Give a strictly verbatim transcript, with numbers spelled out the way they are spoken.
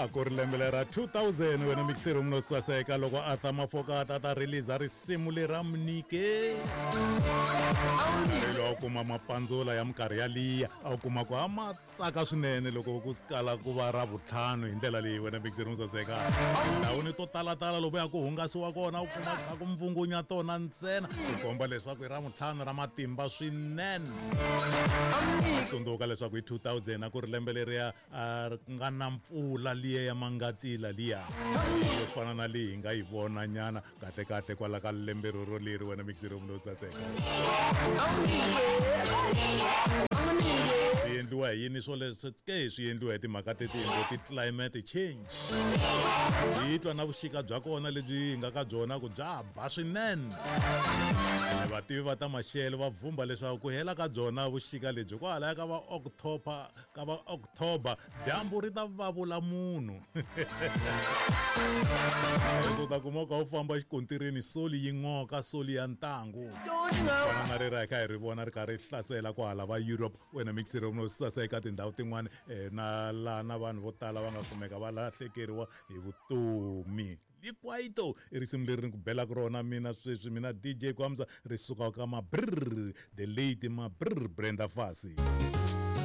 A ku ri lembe ra two thousand wena mixer munhu saseka loko Arthur Mafokate a ta release risimu lera Mnike. Loko kuma mapandzula ya minkarhi yaliya a kuma ku ama tsaka swinene loko ku kala ku va ra vutlhanu hi ndlela leyi wena mixer munhu saseka. Ndhawini to talatala loko ya ku hungasiwa kona u kuma ka ku mvungunya tona ntsena ku komba leswaku i ra vutlhanu ra matimba swinene. Tsundzuka leswaku hi two thousand a ku ri lembe leriya a nga na mpfula liya ya mangatsila liya yo fana na leyi hi nga yi vona nyana kahle kahle kwala ka lembe roro leri wena mixer munhu saseka. Swi endliwa hi yini swo leswi ke swi endliwa hi timhaka teti ti climate change. Hi twa na vuxika bya kona lebyi hi nga ka byona ku bya ba swinene. Vativi va ta maxelo va vhumba leswaku ku hela ka byona vuxika lebyi kwalaya ka va October ka va October dyambu ri ta vavula munhu. U ta kuma ka u famba xikontirini soli yi n'oka soli ya ntangu. Fana na rera hi kha hi ri vona ri karhi ri hlasela kwahala va Europe wena mixer munhu saseka tindhawu tin'wani na laha na vanhu vo tala va nga kumeka va lahlekeriwa hi vutomi. Likwaito i risimu leri ni ku belaka rona mina sweswi mina D J Kwamza ri suka ka Mabrr the late Mabrr Brenda Fassie.